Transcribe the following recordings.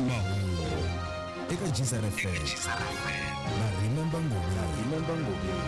Mahungu eka Gzar FM na Remember Ngobeni.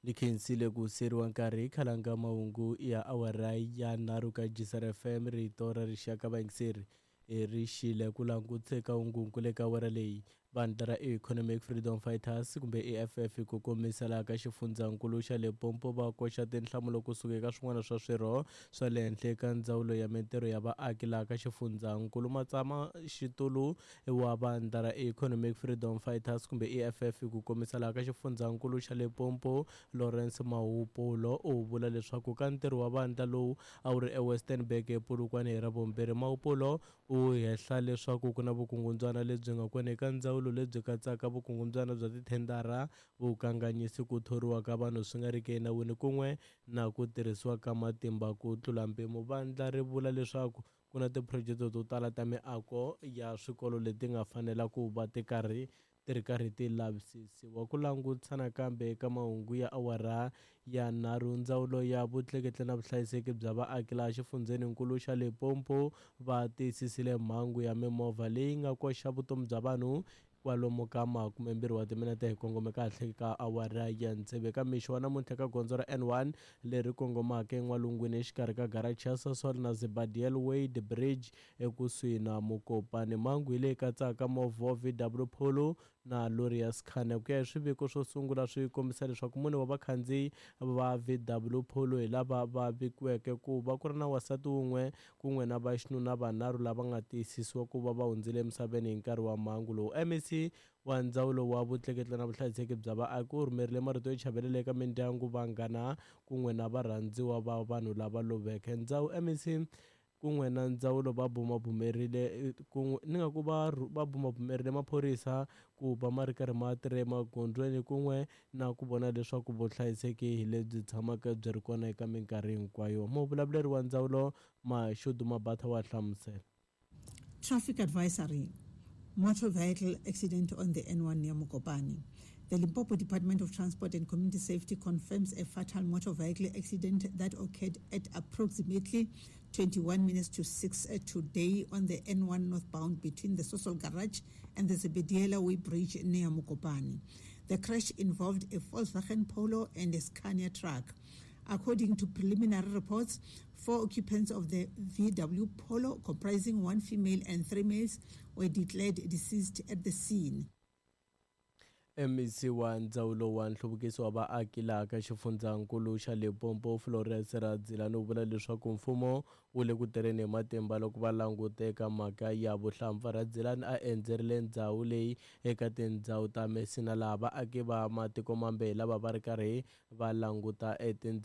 Ni khensile ku siyeriwa nkarhi khalanga mahungu ya awara ya nharhu ka Gzar FM rito ra rixaka vayingiseri ri xile ku languteka hungungu le ka awara leyi. Vandla ra Economic Freedom Fighters kumbe EFF hi ku komisa laha ka xifundzankulu xa Limpopo va koxa tinhlamulo kusuka eka swin'wana swa swirho swa le henhla eka ndzawulo ya mintirho ya vaaki laha ka xifundzankulu. Matsama xitulu wa vandla ra Economic Freedom Fighters kumbe EFF hi ku komisa laha ka xifundzankulu xa Limpopo Lawrence Mahupulo u vula leswaku ka ntirho wa vandla lowu a wu ri eWestenburg ePolokwane hi Ravumbirhi. Mahupulo u hehla leswaku ku na vukungundzwana lebyi nga kona eka ndzawulo lebyi katsaka vukungundzwana bya tithendara, vukanganyisi, ku thoriwa ka vanhu swi nga riki enawini kun'we na ku tirhisiwa ka matimba ku tlula mpimo. Vandla ri vula leswaku ku na tiphurojete to tala ta miako ya swikolo leti nga fanela ku va ti karhi ti ri karhi ti lavisisiwa. Ku langutisa nakambe eka mahungu ya awara ya nharhu, ndzawulo ya vutleketli na vuhlayiseki bya vaaki laha xifundzheninkulu xa Limpopo va tiyisisile mhangu ya mimovha leyi nga koxa vutomi bya vanhu kwalomu ka 20 wa timinete hi kongome kahle ka awara ya tsevu eka mixo wa namuntlha ka gondzo ra N1 leri kongomaka en'walungwini exikarhi ka garachi ya Sasol na Zebadiel Wade Bridge ekusuhi na Mokopane. Mhangu hi leyi katsaka movha wa VW Polo na lori ya Scania. Ku ya hi swiviko swo sungula swi kombisa leswaku mune wa vakhandziyi va VW Polo hi lava va vikiweke ku va ku ri na wansati wun'we kun'we na vaxinuna vanharhu lava nga tiyisisiwa ku va va hundzile emisaveni hi nkarhi wa mhangu lowu. MEC wa ndzawulo wa vutleketli na vuhlayiseki bya vaaki u rhumerile marito yo chavelela eka mindyangu, vanghana kun'we na varhandziwa va vanhu lava loveke. Ndzawu MEC kun'we na ndzawulo va bumabumerile kun'we ni nga ku va va bumabumerile maphorisa ku va ma ri karhi ma tirha emagondzweni kun'we na ku vona leswaku vuhlayiseki hi lebyi tshamaka byi ri kona eka minkarhi hinkwayo. Muvulavuleri wa ndzawulo Mashudu Mabatha wa hlamusela. Traffic advisory, motor vehicle accident on the N1 near Mokopane. The Limpopo Department of Transport and Community Safety confirms a fatal motor vehicle accident that occurred at approximately 5:40 today on the N1 northbound between the Sasol Garage and the Zebediela Way Bridge near Mokopane. The crash involved a Volkswagen Polo and a Scania truck. According to preliminary reports, 4 occupants of the VW Polo, comprising 1 female and 3 males, were declared deceased at the scene. MEC wa ndzawulo wa nhluvukiso wa vaaki laha ka xifundzankulu xa Limpopo Florence Radzilani u vula leswaku mfumo wu le ku tirheni hi matimba loko va languteka mhaka ya vuhlampfa. Radzilani a endzerile ndzhawu leyi eka tindhawu ta Messina laha vaaki va matiko mambe hi lava va ri karhi va languta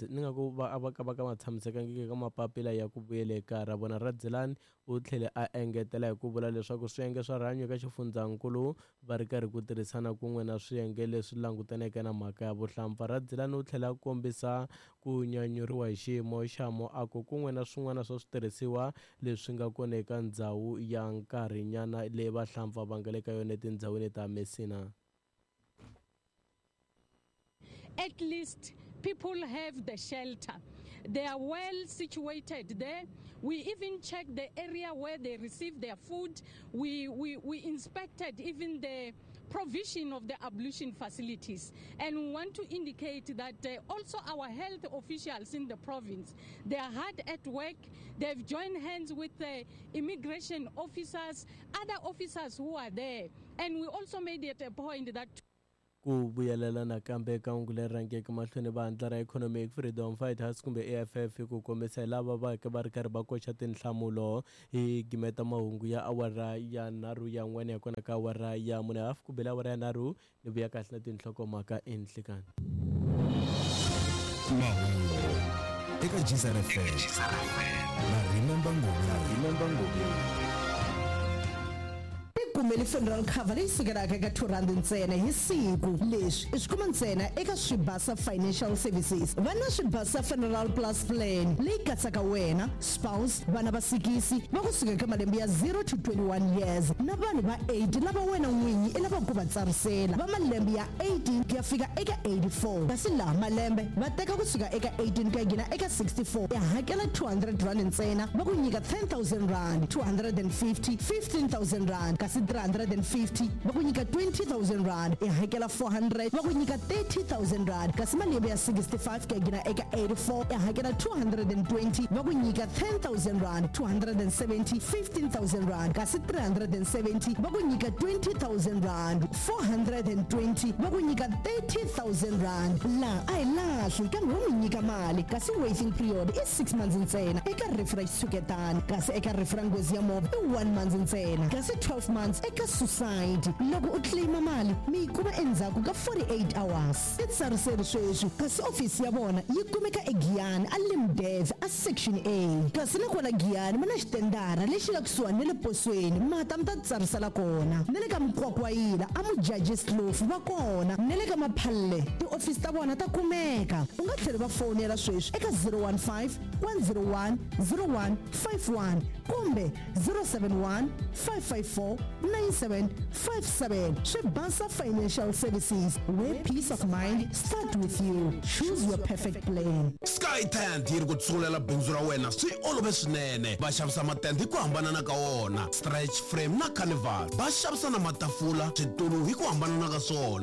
ni nga ku va va ka va ka ma tshamisekangiki eka mapapila ya ku vuyela ekaya ra vona. Radzilani u tlhele a engetela hi ku vula leswaku swiyenge swa rihanyo eka xifundzankulu va ri karhi ku tirhisana kun'we na swiyenge leswi langutaneke na mhaka ya vuhlampfa. Radzilani u tlhela a kombisa ku nyanyuriwa hi xiyimo xa muako kun'we na swin'wana swa switirhisiwa leswi nga kona eka ndzhawu ya nkarhinyana leyi vahlampfa va nga le ka yona etindhawini ta Messina. At least people have the shelter. They are well situated there. We even checked the area where they receive their food. We inspected even the provision of the ablution facilities. And we want to indicate that also our health officials in the province, they are hard at work. They've joined hands with the immigration officers, other officers who are there. And we also made it a point that ku vuyelela nakambe eka hungu leri rhangeke mahlweni vandla ra Economic Freedom Fighters kumbe EFF ku kombisa hi lava va ka va ri karhi va koxa tinhlamulo hi gimeta mahungu ya awara ya nharhu ya n'wana ya kona ka awara ya mune hafu ku bela awara ya nharhu ni vuya kahle na tinhlokomhaka enhlikani. Mahungu eka Gzar FM na Remember Ngobeni. Tikumeli funeral cover leyi sukelaka eka R2 ntsena hi siku. Leswi i swi kuma ntsena eka Swibasa Financial Services. Va na Swibasa Funeral Plus Plan leyi katsaka wena, spouse, vana va sikisi va kusuka eka malembe ya 0 to 21 years na vanhu va 8 lava wena n'winyi i lavaka ku va tsarisela va malembe ya 18 ku ya fika eka 84. Kasi laha malembe va teka kusuka eka 18 ku ya nghena eka 64, i hakela R200 ntsena va ku nyika R10 000, 250 R15 000, kasi 350 va ku nyika R20 000, i hakela 400 va ku nyika R30 000, kasi malembe ya 65 ku ya nghena eka 84 i hakela 220 va ku nyika R10 000, 270 R15 000, kasi 370 va ku nyika R20 000, 420 va ku nyika R30 000. Laha a hi lahli kambe wo mi nyika mali, kasi waiting period i 6 months ntsena eka rifu ra xitshuketani, kasi eka rifu ra nghozi ya movha i 1 month ntsena, kasi 12 months eka suicide. Loko u claima mali mi yi kuma endzhaku ka 48 hours. I tsariseri sweswi, kasi ofisi ya vona yi kumeka eGiyani a Limdev a Section A, kasi na kwala Giyani va na xitendara lexi nga kusuhani na le posweni, mata mi ta tsarisela kona. Na le ka Mukwakwayila a Mujajis Kloof va kona, na le ka Maphalle tiofisi ta vona ta kumeka. U nga tlhela va fonela sweswi eka 015 101 0151 kumbe 071 554 9757. Swibasa Financial Services, where peace of mind start with you. Choose your perfect plan. Sky Tent yi ri ku tsungulela bindzu ra wena swi olove swinene. Va xavisa matende hi ku hambanana ka wona, stretch frame na carnival. Va xavisa na matafula, switulu hi ku hambanana ka swona.